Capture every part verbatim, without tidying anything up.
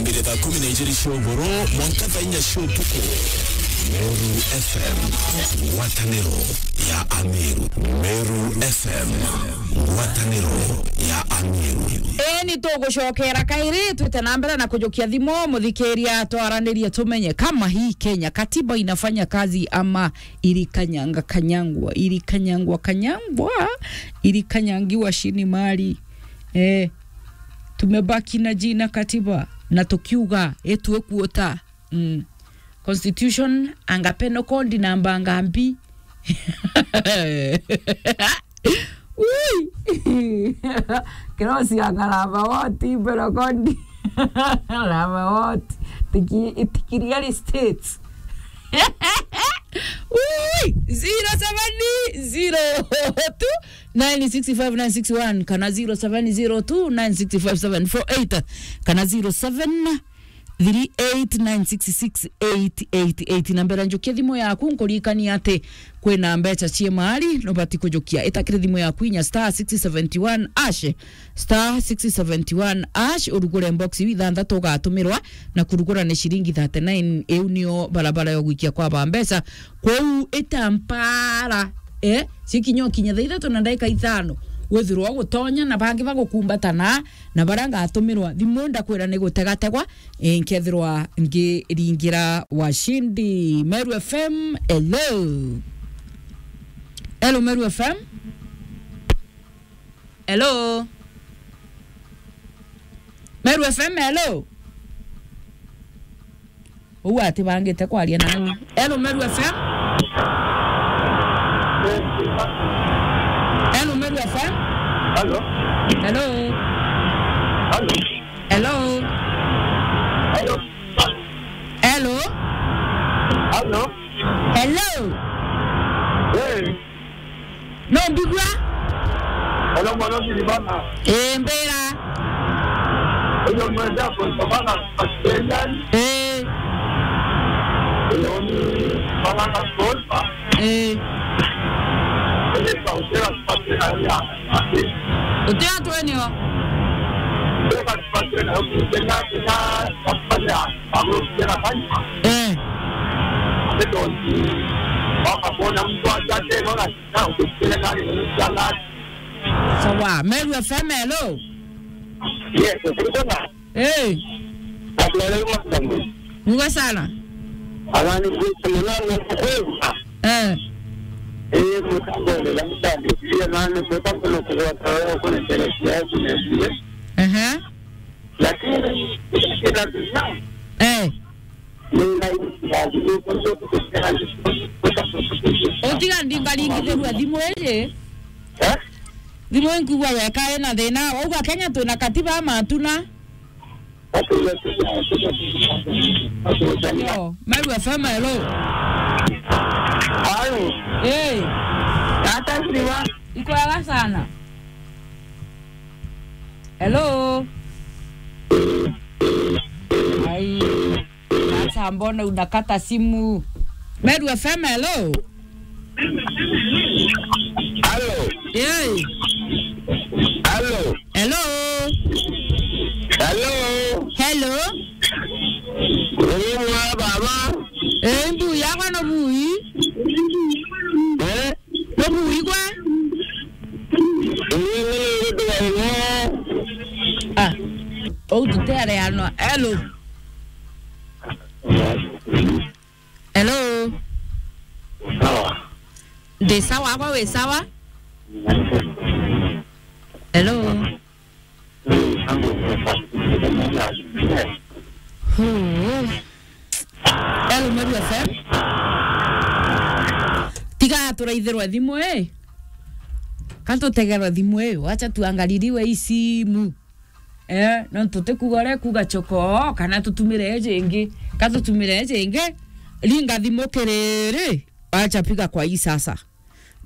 Mbere thaa kumi na ijiri cia ugoro, mwanka thaa inya cia utuku. Meru F M, ngwataniro ya Ameru. Meru F M, ngwataniro ya Ameru. Ii, ni tugucokera kairi, twite na mbere na kujukia thimu, muthikiria, twaranirie tumenye kama hii Kenya katiba inafanya kazi ama ilikanyanga kanyangwa, ilikanyangwa kanyangwa, ilikanyangiwa chini mali. Eh, tumebaki na jina katiba, na tukiuga, itwikuota. Mm. Constitution, anga penal code namba ngambi. Ui! Kirosi anga namba what, penal code. Namba what? Tiki-, tiki real estates. Ui! Zero seven zero two nine six five nine six one kana zero seven zero two nine six five seven four eight kana zero seven three eight nine six six eight eight eight. Na mbere njukia thimu yaku, nkuririkania ati kwina mbeca cie mali nubati kujukia. Ita kiri thimu yaku inya star six seventy one hash, star six seventy one hash, urugure box iu ithanthatu ugatumirwa, na kurugura ni ciringi thirty nine. Iu nio barabara ya gwikia kwa ba mbeca. Kwou ita mpara, eh, cikinya ukinya thaa ithatu na ndagika ithano, withirwa gutonya na bangi bagukumbata na, na baria ngatumirwa thimu ndakwira ni gutegategwa, eh, nkethirwa ngiringira washindi. Meru F M, hello. Hello, Meru F M. Hello. Meru F M, hello. Uu atibangite kwaria nawe. Hello, Meru F M. Hello, Meru F M. Hello. Hello. Hello. Hello. Hello. Hello. Hello. Hello. Hey. No mbigua? Hello, mwana wa Silvana. Eh, mbira. Hello, mwana wa Silvana. Eh. Hello, ni mwana wa Silva. Eh. Hello, mwana wa Silva. Uti atwenio? Eh. Sawa, Meru F M, hello. Yes, Silvana. Eh. Muga sana. Abana ni kwita munana kwema. Eh. Eh, mutambole la mutambole. Pia nani mutambole kwa kwa kwa. Ehe. Lakini kila kitu. Eh. Utiga ndingaringithirua thimu iji. Eh? Thimu inkugua yeka ina thina. Wauga Kenya twina katiba ama hatuna? Yo, Meru F M, hello. Halo. Eh. Hata siwa. Iko wega sana. Hello. Ai. Sasa mbona unakata simu? Meru F M, hello. Halo. Hey. Halo. Hello. Halo. Hello. Uri mwa baba? Eh, mbu yakwa no bui. Eh? No bui gwe? Uri mwa baba? Ah. Ou tuteareanwa. Hello. Hello. Sawa. Ndi sawa, gwe wi sawa? Hello. Huu. Hello, Meru F M. Tiga turaithirwe thimu, eh. Ka tutegerwe thimu, eh. Wacha tuangaliliwe hii simu. Eh, no tutikuga ore kuga choko, kana tutumire eje ingi. Ka tutumire eje ingi, ringa thimu kiriri, acha piga kwa hii sasa.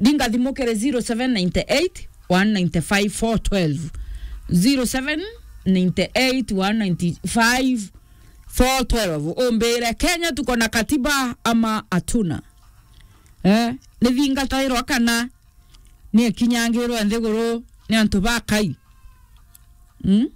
Ringa thimu kiri zero seven nine eight, one nine five, four twelve. Zero seven nine eight, one nine five, four twelve. Umbire, Kenya tuko na katiba ama hatuna? Eh, ni thingatairwa kana ni ikinyangirwe nthiguru ni antu ba Kai? Mm?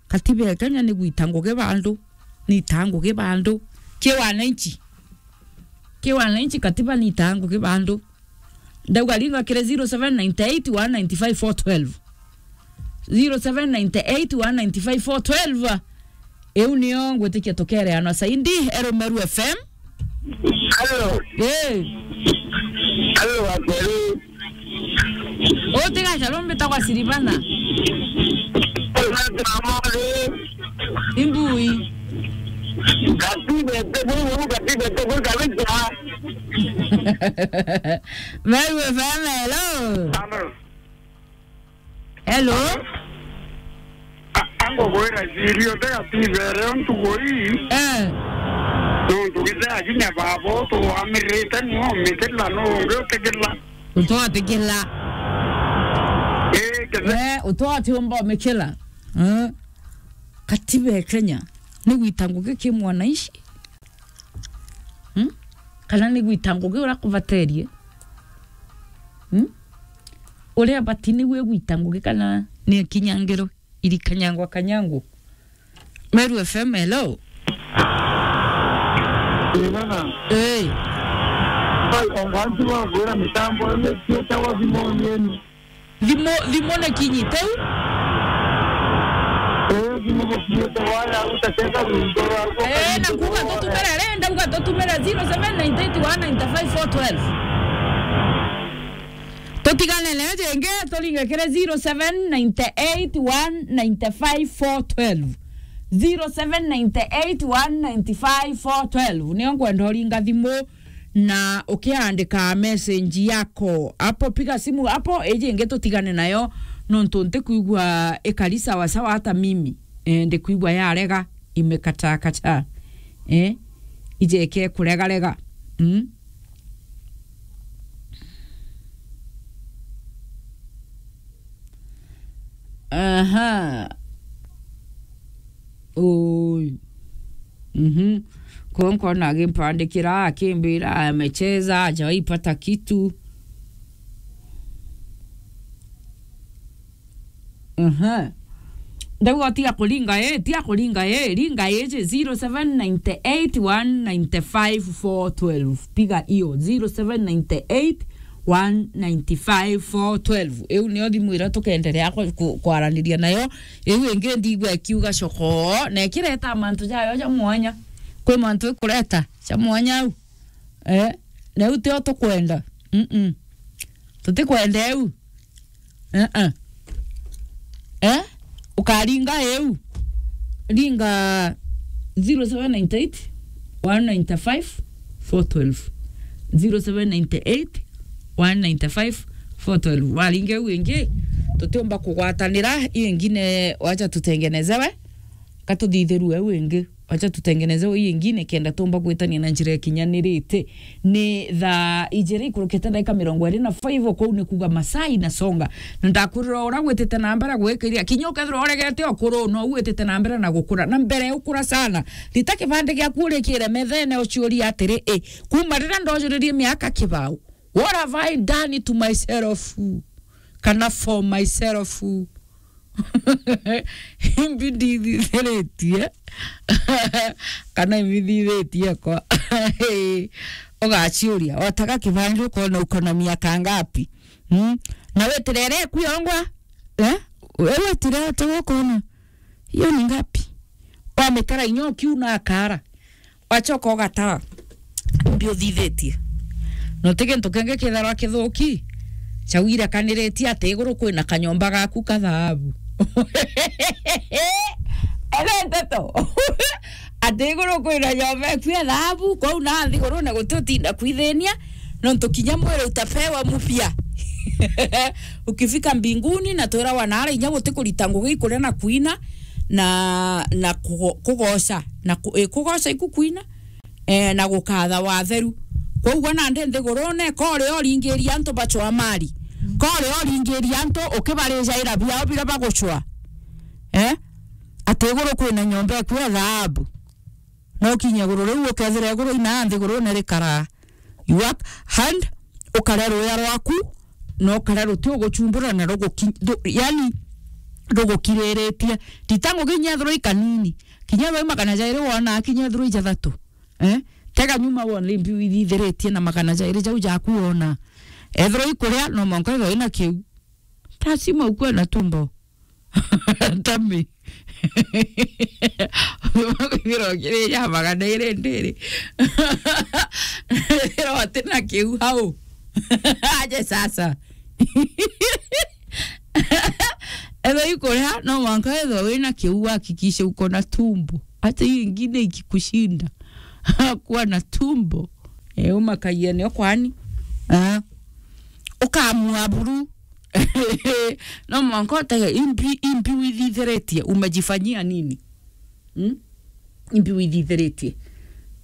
Katiba ya Kenya ni gwita ngugi bandu, ni ita ngugi bandu. Ki wananchi. Ki wananchi, katiba ni ita ngugi bandu. Ndauga ringa kiri zero seven nine eight one nine five four twelve. Zero seven nine eight one nine five four twelve. Iu nio ngwitikia tukereanwa saindi. Hello, Meru F M. Hello. Eh. Hello, Atheru. Utigacha rumbitagwa Silivana. Imbui. Gatibete buu, gatibete buu kabisa. Meru F M, hello. Hello. Hello. A-, angogwira cirio te gatibere o ntugo ii. Eh. Nontu githea kinya baba utu wamirite nio mikila no ungi utikila. Utwatikila. Ii, kende- Eh, utwatiumba umikila. Eh. Katiba ya Kenya ni gwita ngugi ki mwananchi. Hmm? Kana ni gwita ngugi uria kubaterie? Hmm? Uria bati ni gwe gwita ngugi kana ni kinyangiro iri kanyangwa kanyangu? Meru F M, hello. Ii, bana. Ii. Ai, ongo antu bagwira mitambo ino cietagwa thimoni ino. Thimu, thimu ni kinyite u? Ii, thimu gukinyite waya, utatega rwimbo rwa. Ii, na kuuga tutumire ri, ndauga tutumire zero seven nine eight one nine five four twelve. Tutigane nayo jingi, turinge kiri zero seven nine eight one nine five four twelve. Zero seven nine eight one nine five four twelve. Nio nkwenda uringa thimu na ukiandika message yako. Apo piga simu, apo iji ingi tutigane nayo, nontu ntikwigua ikari sawa sawa hata mimi. Eh, ndikwigua yarega, imekataa kataa. Eh, ije ike kuregarega. Mm. Aha. Oi. Mhm. Ko nkona agimpandikira, akimbira amecheza, hajawahi pata kitu. Aha. Ndauga tiga kuringa ii, tiga kuringa ii, ringa iji zero seven nine eight one nine five four twelve. Piga iyo, zero seven nine eight one nine five four twelve. Iu nio thimu iria tukenderea ku-, ku-, kwaraniria nayo. Iu ingi ndigua ikiuga coko, na ikireta mantu jayo ja mwanya. Kwi mantu ikureta ja mwanya au. Eh, na iu tio tukwenda. Mm-mm. Tutikwenda iu. Eh, eh. Eh? Ukaringa iu. Ringa zero seven nine eight one nine five four twelve. Zero seven nine eight one nine five four twelve. Waringa iu ingi, tutiumba kugwatanira, iu ingine wacha tutengenezewe, katuthithirue iu ingi. Wacha tutengeneze uu ingine kenda tumba gwitania na njira ikinyanirite. Ni thaa ijiri ikurukite ndagika mirongo iri na five, kuu ni kuuga masaa inasonga. Na ndakwirira uria gwitite na mbere gwikiria, kinya ukethirwa uregete ukuru, no gwitite na mbere na gukura. Na mbere ukura sana. Rita kibande giaku urikire methene uciuria atiri, "I, kuuma riria ndojuririe miaka kibau, what have I done to myself? Kana for myself?" Imbi ndithithiritie. Kana imbi thithitie kwa. Ugaciuria, wataga kibandi ukona uko na miaka ngapi? Hmm? Na wetire ere kwiyongwa? Eh? Wewe wetire atoga ukona. Hiyo ni ngapi? Wamitara inya ukiuna akara. Wachoka ugatara. Mbi uthithitie. Na uti gintu kingi kitharwa kithuki. Chawire kaniritie ati iguru kwina kanyomba gaku ka thahabu. Ere nteto. Ati iguru kwina nyomba eku ya thahabu, kwou na nthigurune guti utinda kwithinia, nontu kinya mwiri utapewa mupya. Ukifika mbinguni na twirawa nara inya guti kurita ngugi ikuria na kuina na, na kugo-, kugoca, na ku-, eh, kugoca iku kuina, eh, na gukatha watheru. Kwou gwa nandi nthigurune, kori oringiria antu bacwa mari. Kori oringiria antu ukibarijaira biao biria bagucwa. Eh? Ati iguru kwina nyomba eku ya thahabu. No kinya iguru riu ukethira iguru ina nthigurune rikaraa. You work hand, ukare ruya rwaku, na ukare ruti uguchumbura na ruguki-, ru-, yani, ndugukiriritie. Nditangu kinya ethirwa i kanini. Kinya ethirwa i magana jairi wona, kinya ethirwa i jathatu. Eh? Tega nyuma wone imbi withithiritie na magana jairi jau jaku wona. Ethirwa i kuria, no mwanka ethirwa ina kiu. Lazima ukuwe na tumbo. Tami. Kwithirwa kiri ya magana iri ndiri. Ethirwa utina kiu hau. Aje sasa. Ethirwa i kuria, no mwanka ethirwa wina kiu, uhakikishe uko na tumbo. Hata hiyo ingine ikikushinda. Kuwa na tumbo. Eh, umakagia nio kwani. Ah. Ukamua buru. No mwanka utege imbi, imbi withithiritie, umejifanyia nini? Hmm? Imbi withithiritie.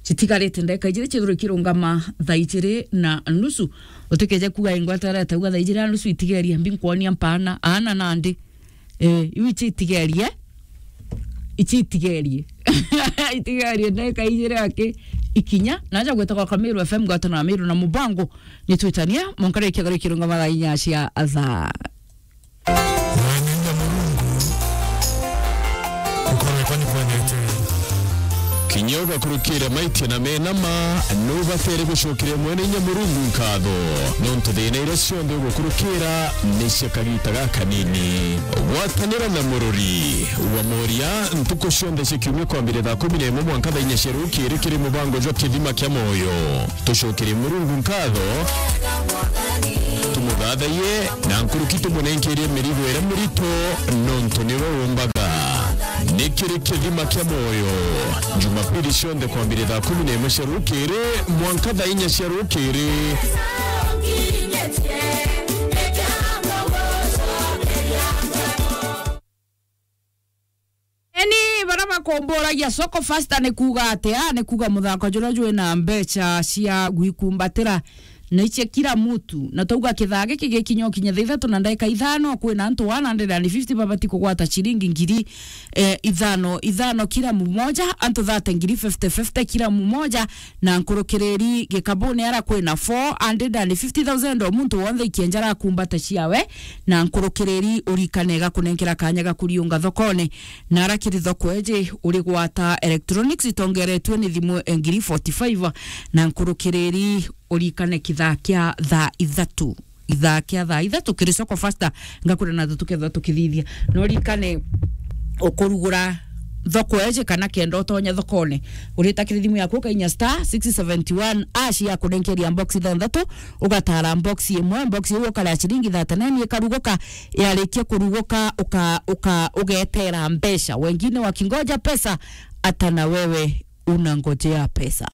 Citigarite ndagika ijiri cithirwe ikirungama thaa ijiri na nusu. Utikeje kuga ingwatara tauga thaa ijiri na nusu itigeria mbi nkwonia mpaana. Aana nandi. Eh, iu ichi itigerie. Ichi itigerie. Itigerie ndagika ijiri aki ikinya. Naja gwita kwa Kamiru F M, ngwatana na Miru na Mubango. Nitwitania, mwanka rikia gari kirungama thaa inya cia thaa. Mwene inya Murungu, gukorwe kwa ni kwenete. Kinya ugakurukira maitia na mena ma, nubatere gucokeria Mwene inya Murungu nkatho, nontu thina iria cionthe ugukurukira ni cia kagita gakanini. Gwatanira na murori wa moria ntuku cionthe cia kiumia kwambire thaa kumi na imwe mwanka thaa inya cia rukiri kiri mubango jwa Kithima kia Moyo. Tucokerie Murungu nkatho, tumuthathaiye, na nkuruki tumunenkerie mirigo iria mirito, nontu niwe umbaga. Ni kiri Kithima kia Moyo, Jumapili cionthe kwambire thaa kumi na imwe cia rukiri mwanka thaa inya cia rukiri. Eni, bara bakumburagia soko fasta ni kuuga atia? Ni kuuga muthako juria jwina mbecha cia gwikumbatira na icia kila mutu. Na twauga kithaa giki gikinya ukinya thaa ithatu na ndagika ithano, kwina antu one hundred and fifty babati kugwata ciringi ngiri, eh, ithano, ithano kila mumoja, antu thirty ngiri fifty fifty kila mumoja, na nkurukiriri gikabuni ara kwina four hundred and fifty thousand o muntu wonthe ikienja arakumbata ciawe, na nkurukiriri urikane gakunenkera kanya ga kuriunga thokone, na ara kiri thoko eji uri gwata electronics itongeretue ni thimu ngiri forty-five, na nkurukiriri urikane kithaa kia thaa ithatu. Ithaa kia thaa ithatu kiri soko fasta, ngakwira na tukethwa tukithithia. No rikane ukurugura thoko eje kana kenda utonya thokone. Urita kiri thimu yaku ukainya star six seventy one hash ya kunenkeria box ithanthatu, ugatara box imwe, box iu ukarea ciringi thirty-nine ikaruguka, yarikia kuruguka uka, uka, ugetera mbeca. Wengine wakingoja pesa, hata na wewe unangojea pesa.